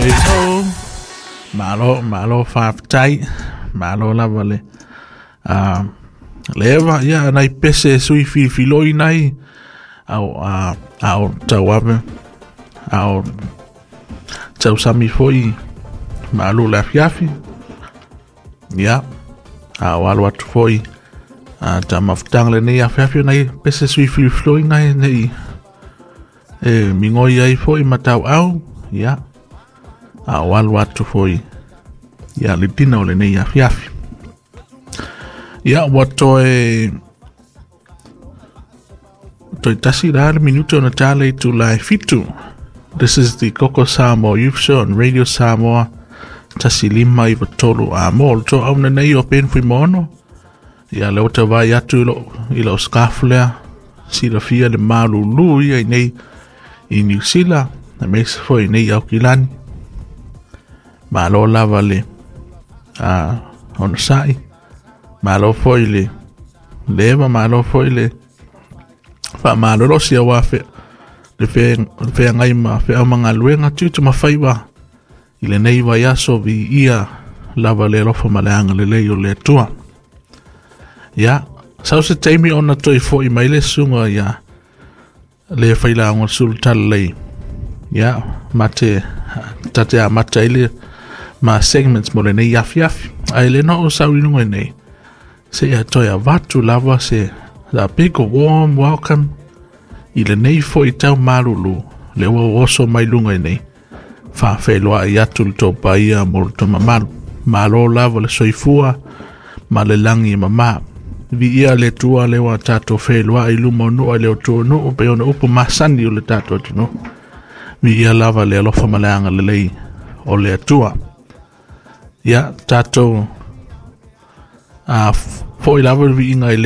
Hey ho. Malo, malo faafetai. Malo lava le le eva ia nai pese sui filifiloi nai ao ao tauave ao tausami foi malo le afiafi ia ao alo atu foi a ta mafutaga lenei afiafi nai pese sui filifiloi nai nei e migoi ai foi ma tauau ia ao alo atu foi ia le tina o lenei afiafi. Ia ua toe tasi la le minuto na tale i tula e 7. This is the Koko Samoa Youth Show on Radio Samoa 159 a mo le to au nei o pen fui mono. Ia le ota vai atu i lo scarf lea silafia le malulu ia i nei i New Zealand na mese foi nei au kilani. Malo lava le a ona sai. Malo foi le leva, malo foi le faamalolosi auā fe le feagai ma feau magaluega tiute ma faiva i lenei vaiaso viia lava le alofa ma le agalelei o le Atua. Ia, sau se taimi ona toe fo'i mai le susuga ia le failaoga sulu talalei. Ia, mate tate amata ai le ma segments mo lenei afiafi. Ae le no o sau i luga i nei. Se ia toe avatu lava se a big warm welcome i lenei foi tau malulu le ua oso mai luga i nei. Faafeiloai atu le tou paia mo le mamalu. Malo lava le soifua ma le lagi e mamā. Viia le Atua le ua tatou feiloai i luma o nuu le o nuu pe ona upu masani o le tatou atunuu. Viia lava le alofa ma le agalelei o le Atua. Ia tatou a foi lava le viiga i le